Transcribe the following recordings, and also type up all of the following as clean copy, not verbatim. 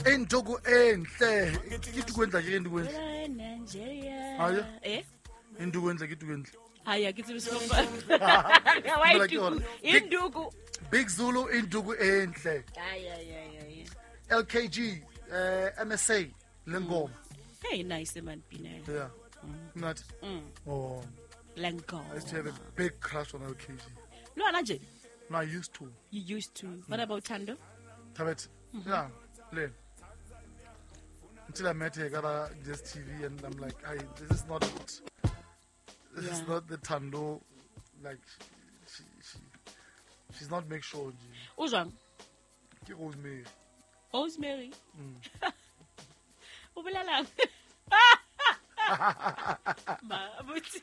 Induku enhle. Ke tuku entle ke induku entle. Nigeria. Ah, yeah? Eh? Induku entle ke tuku entle. Haya ke tsebe sefofa. Wa Dumela ke ituku. yona. Induku. Big Zulu induku enhle. Ay ay ay ay. LKG MSA lengoma. Hey nice man pina. Yeah. Not. Oh, Lengo. I used to have a big crush on LKG. Lo ana nje. No, I used to. You used to. What about Thando? Thabet. Yeah. Le. Until I met her, got a DSTV, and I'm like, I this is not, this is Yeah. not the Tando, like, she's not make sure. O jwang? Ke Rosemary. Rosemary. O bolelang? Ma botse.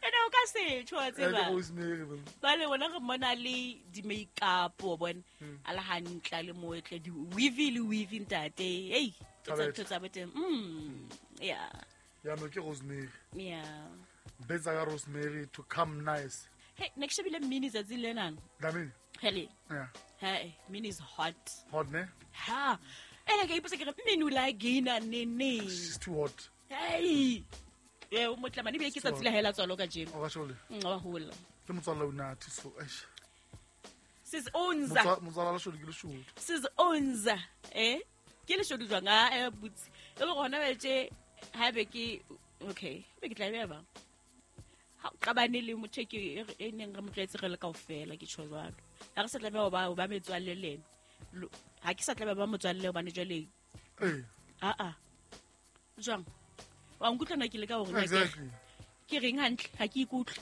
Ene o ka se tjho wa Eh, ke tseba. Rosemary. man. Ba le bona re mmona le di-makeup wa bona a le hantle a le motle di-weave le weave ntate ei ke tsa Thabethe. ntho tsa boteng yeah Yeah, no, ke Rosemary. yeah Betsa ka Rosemary to come nice. hey ne ke shebile mmini tsatsi lenana Dlamini. hele Yeah. hey mmini is hot Hot, ne? ha ene ka ipotsa ke re mmini o la gaina neneng She's too hot. hei e o motlamane ebile ke tsatsi la hela tswalo ka jeno O ka shole. Wa hola Ke motswalla o nathi so. Eish. sis onza Motswalla la shole ke leshodu. sis onza eh ke leshodu jwang a eh butse e le gona betse ha be ke okay be ke tla be ba ha o qabane le motho e ke e neng re mo tlwaetse re le kaofela ke tjho jwalo ha re sa tlameha ho ba ho ba metswalle le ena ha ke sa tlameha ba motswalle hobane jwale Eh, a a jwang wa nkutlwa na ke le ka hore na ke exactly. ke reng hantle ha ke ikutlwe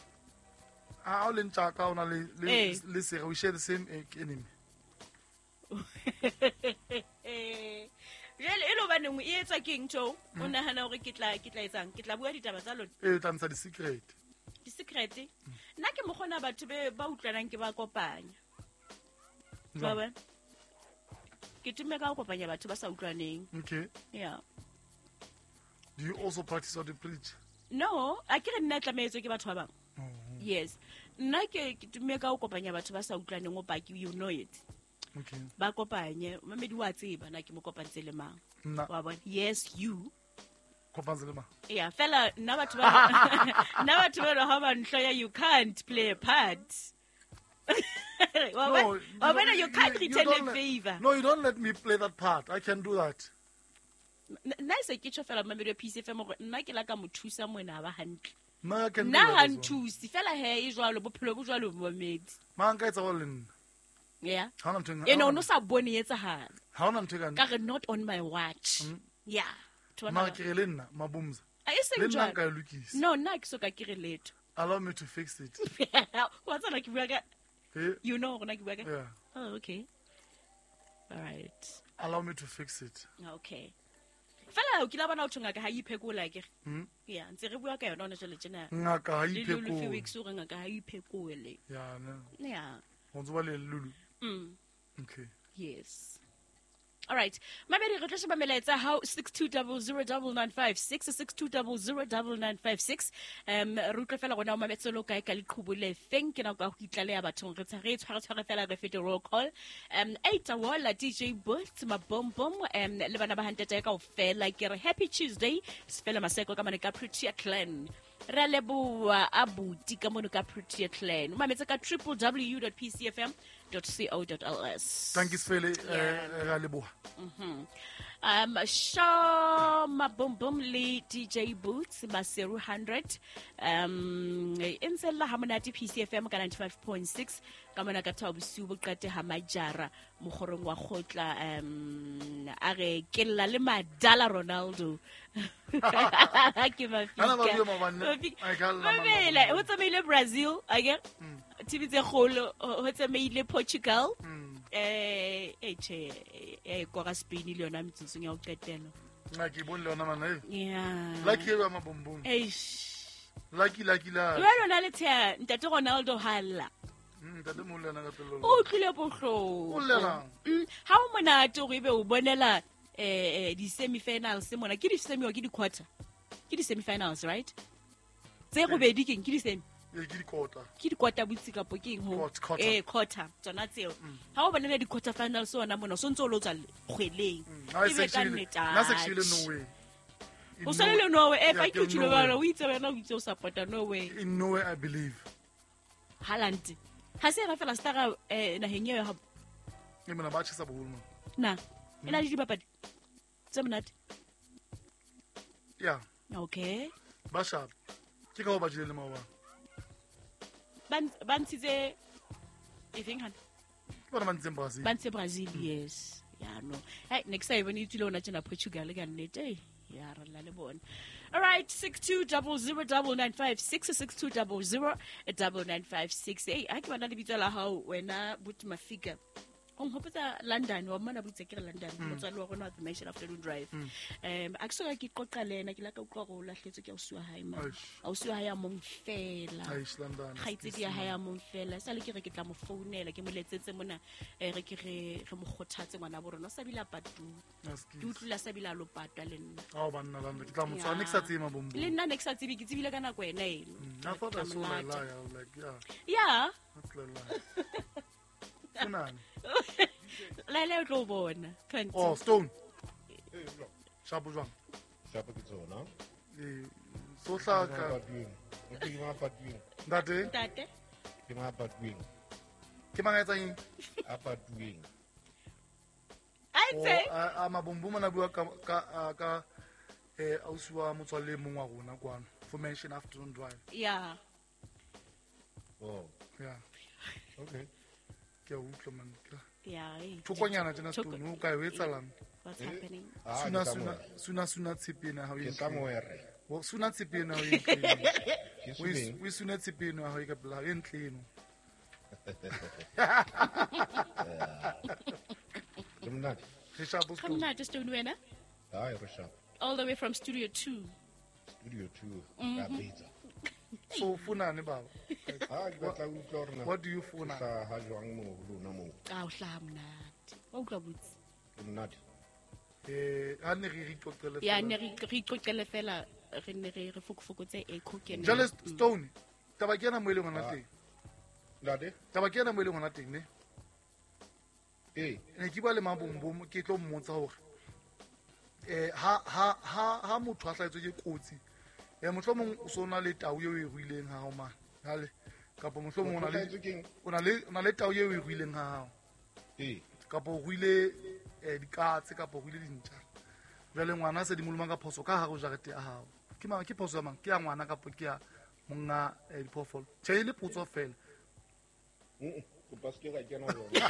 Ha o le ntjaka o na le le Eh. le sera we share the same enemy. Jwale e le hobaneng e etswa ke eng ntho o nahana hore ke tla ke tla etsang ke tla bua ditaba tsa lona Eh, tla ntsha di-secret. di-secret nna ke mokgona batho be ba utlwanang ke ba kopanya Wa Jwang? bona? Ke tumme ka ho kopanya batho ba sa utlwaneng Okay. yeah Do you also practice what you preach? No a ke re nna e tlamehetswe ke batho ba bang Oh, yes nna ke ke tumme ka ho kopanya batho ba sa utlwaneng o paki you know it okay. ba kopanye mamedi wa tseba na ke mo kopantse le mang Nna wa bona yes you kopantse le mang? yeah fela nna batho ba nna batho ba ha ba nhloya you can't play a part wa No, bona wa bona you can't return don't a favor No, you don't let me play that part. I can do that. Nna e se ke tjho fela mamedi wa PCFM hore nna ke la ka mo thusa moena ha ba hantle Nna I can do nna that ha as well. nthuse fela he e jwalo bophelo bo jwalo momedi Mang ka etsa jwalo le nna. yeah Ha hona ntho e ene o no sa bone e etsahala Ha hona ntho e ka ka re not on my watch yeah Batho bana Mara ba- ke re le nna mabumza. A e seng Le nna jwalo. nka e lokisa. No nna ha ke soka ke re letho Allow me to fix it. wa tsana ke bua ka Eh, you know hore na ke bua ka yeah. Oh, okay. All right. Allow me to fix it. Okay. Fela o kile wa bona ho thwe ngaka ha e iphekola akere? Mm. Yeah, ntse re bua ka yona hona jwale tjena. Ngaka ha e Le Lulu few iphekole. weeks o re ngaka ha e iphekole. Yeah, ne. Yeah. Ho ntso ba le Lulu. Okay. Yes. All right. Mamedi re tlo sheba melaetsa hao 62009956 62009956. Re utlwe fela rona o mametse lo kae ka leqhubu le feng ke nako ya ho itlaleha bathong re re tshware tshware fela re fete roll call. Aitawola DJ Boots Mabombom le bana ba hantete kaofela ke re happy Tuesday Sefela Maseko ka mane ka Protea Clan. Re a leboha abuti ka mono ka Protea Clan. O mametse ka www.pcfm.co.ls. Thank you Sefele. Yeah. Eh, re a leboha. Shaw Mabombom le DJ Boots Maseru 100 e ntse lla ha monate PCFM ka 95.6 ka mona ka thaba bosiu bo qete ha majara mokgorong wa kgotla a re ke lla le madala Ronaldo ke Hana ba mafika bue maobane. Mafika. Ai, ka lla Mamela, maobane. ho tsamaile Brazil akere TV tse kgolo ho tsamaile Portugal eh tjhe e kora Spain le yona metsotsong ya ho qetela Nna ke bone le yona mana. eh. yeah Lucky e ba mabombom. eish Lucky lucky la. jwale o na le tsheya ntate Ronaldo ha lla Ntate moholo yena ka pelo. o utlwile bohloko O llelang? Ha o monate hore ebe o bonela di-semi-finals mona ke di-semi or ke di-quarter ke di-semi-finals right tse robedi keng ke di-semi Ke dikota. Ke dikota botsi kapo ke eng ho? Quarter. Quarter tsona tseo. Ha o bonela di-quarter finals ona mona, o sontse o lo tswa kgweleng. Ebe ka nnete. Nna se ke shebile Norway. O sale le Norway, fa ke tshilo bana, o itse wena o itse o support-a Norway. In Norway I believe. Haaland. Ha se ra fela stara naheng eo ya Ke mona ba tjhesa boholo mona. Na, e na le dibapadi tse monate. Yeah. Okay. Ba sharp. Ke ka ho ba jele le maobane. Ba ntshitse e feng hana? Ke bona ba ntshitseng Brazil. Ba ntshitse Brazil, yes. Yeah, no. Hey, next time when you tswile ona tjena Portugal ka nnete. Ya re la le bona. All right, 62009956 62009956. Hey, ha ke bona lebitso la hao wena Buti Mafika. O nghopotsa London, wa mmona botse ke re London, motswalli wa rona wa The Nation Afternoon Drive. A ke soka ke qoqa le ena, ke la ka utlwa hore o lahletswe ke ausi wa hae ma. Ausi wa hae a mong fela. Kgaitsedi ya hae a mong fela. Sale ke re ke tla mo founela, ke mo letsetse mona, re ke re mo kgothatse ngwana bo rona. O sa bile a patuwe. Ke utlwile a sa bile a lo patwa le nna. Ao banna London, ke tla mo tshwana, ne ke sa tsebe mabombo. Le nna ne ke sa tsebe, ke tsebile ka nako ena eno. I thought I saw Laila, I was like, yeah. Yeah. That's Laila. Funani. Laila o tlo bona. Oh, Stone. Shapo jwang? Shapo ke tsona. So hlaka. Ke mang patuweng? Ntate. Ntate. Ke mang patuweng? Ke mang a etsang eng? A patuweng. A etse? A mabombo mona bua ka ausi wa motswalle mong wa rona kwano. For Mention Afternoon Drive. Yeah. Oh. Yeah. Okay. Ke a utlwa man. Yeah. Thokonyana tjena Stone, o kae o etsalang? What's happening? Suna suna tshepe ena ha o Ke somewhere. Well, suna tshepe ena ha o e ntle. O suna tshepe ena ha o e ka pela e ntle eno. Le monate. Re shapo Stone. Monate Stone wena? Hai, re shapo. All the way from Studio 2. Studio 2. Ka betsa. So funane baba. Ha ke batla ho utlwa hore na. What do you funa? Ha jwang mo lona mo? A o hlaha monate. Wa utlwa botse. Ke monate. Ha ne re iqoqele fela. Ya ne re iqoqele fela re ne re fokofokotse echo ke nna. Jwale Stone, taba ke ena mo e leng hona teng. Ntate? Taba ke ena mo e leng hona teng ne? Eh. Ne ke bua le Mabombo ke tlo mmotsa hore ha motho a hlahetswe ke kotsi. Mohlomong o so na le tau eo e ruileng ha hao mane. Hale kapa mohlomong o na le tau eo e ruileng ha hao. Eh. Kapa o ruile dikatse kapa o ruile dintja. Jwale ngwana se di molomang ka phoso ka hare ho jarete ya hao. Ke mang ke phoso ya mang? Ke ya ngwana kapa ke ya monga diphoofolo? Tjhe e le potso fela. Kopa se ke ra kena ho yona.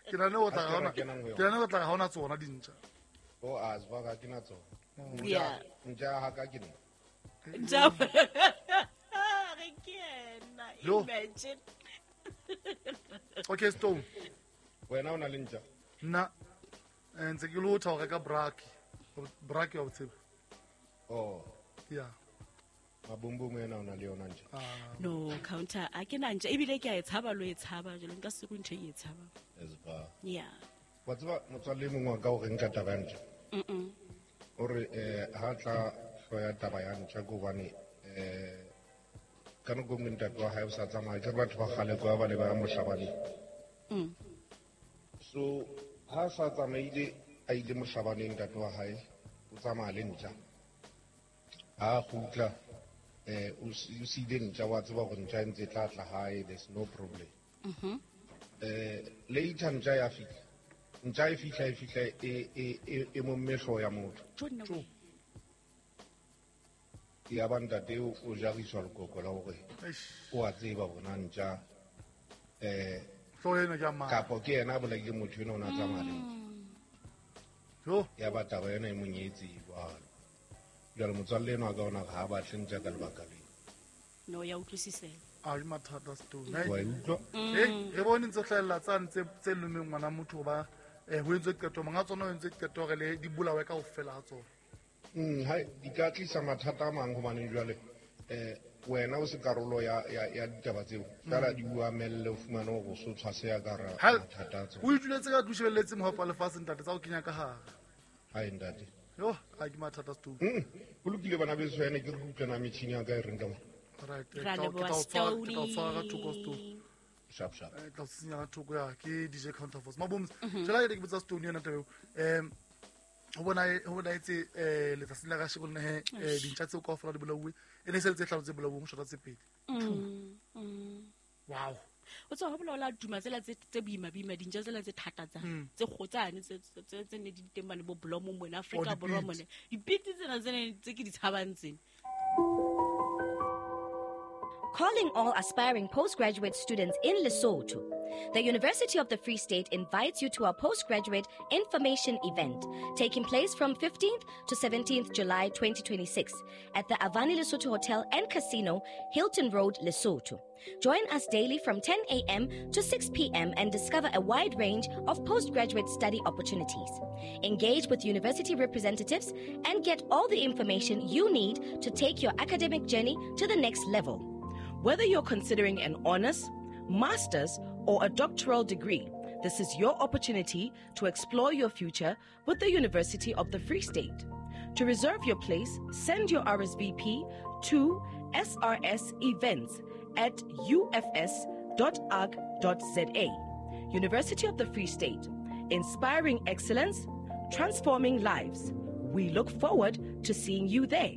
Ke na le ho tla ha ona. Ke na le ho tla ha ona tsona dintja. O a tswa ka kena tsona. Yeah. Nja ha ka ke nna. Nja. Re ke ena. Imagine. Okay, Stone. Wena o na le ntja? Nna ntse ke lotha ho reka braki. Braki wa botshepa. Oh. Yeah. Mabombo ena o na le yona ntja? No, counter. A ke na ntja ebile ke a e tshaba lo e tshaba jalo nka se go ntho e tshaba. Esba. Yeah. Wa tseba motswalle mongwe wa ka o reng ka taba ya ntja? Ore ha tla hloya taba ya ntja ke hobane ka nako nngwe ntate wa hae o sa tsamaya ke batho ba kgale kwa ba ne ba ya mohlabaneng. So ha sa tsamaile a ile mohlabaneng ntate wa hae o tsamaya le ntja. Ha kgutla o siile ntja wa tseba hore ntja e ntse tla tla hae, there's no problem. Later ntja ya fihla. Ntja e fihla e momme hlooho ya motho. Ya ba ntate o jariswa lekoko la hore o a tseba hore na ntja hlooho ena ke ya mang. Kapo ke yena a bolaile motho ena o na tsamaya le ntja. Jo. Ya ba taba ena e monyetse jwalo. Jwale motswalle enwa ka ona ha batle ntja ka lebaka leo. No, ya utlwisisela. A ke mathata Stone. Wa e utlwa? Re bone ntse hlahella tsane tse lomeng ngwana motho ba ho entswe qeto monga tsona ho entswe qeto hore le di bolawe kaofela ha tsona. Hai di ka tlisa mathata a mang hobane jwale wena o se karolo ya ditaba tseo. Fela di o amelle o fumane hore o so tshwaseya ka hara mathata a tsona. O ituletse ka tlung shebelletse mohopa lefatshe ntate tsa ho kenya ka hare. Hai ntate. Yo, a ke mathata Stone. Go lokile bana beso, ene ke re utlwana metšhini ya ka e reng ka mo. Right, Ra ke tla leboha, o tshwara, ke tla o tshwara ka thoko, Stone. Stony. Sharp sharp. Tla o sisinya ka thoko ya ke DJ Counterforce. Maboms, jela ke botsa Stone yona taba eo. Ho bonaetse letsatsing la kasheko le he dintja tseo kaofela di bolauwe, e ne e se le tse hlano tse bolauweng, ho shota tse pedi. Wow. O tswa ho bolaola duma tsela tse boima boima, dintja tsela tse thata tsa tse kgotsane tse ne di teng mane bo Blomo mona Afrika Oh, Borwa dipitse. mone, dipitse tsena tse ne tse ke di tshabang tsena. Calling all aspiring postgraduate students in Lesotho. The University of the Free State invites you to our postgraduate information event taking place from 15th to 17th July 2026 at the Avani Lesotho Hotel and Casino, Hilton Road, Lesotho. Join us daily from 10 a.m. to 6 p.m. and discover a wide range of postgraduate study opportunities. Engage with university representatives and get all the information you need to take your academic journey to the next level. Whether you're considering an honors, master's, or a doctoral degree, this is your opportunity to explore your future with the University of the Free State. To reserve your place, send your RSVP to srsevents@ufs.org.za. University of the Free State, inspiring excellence, transforming lives. We look forward to seeing you there.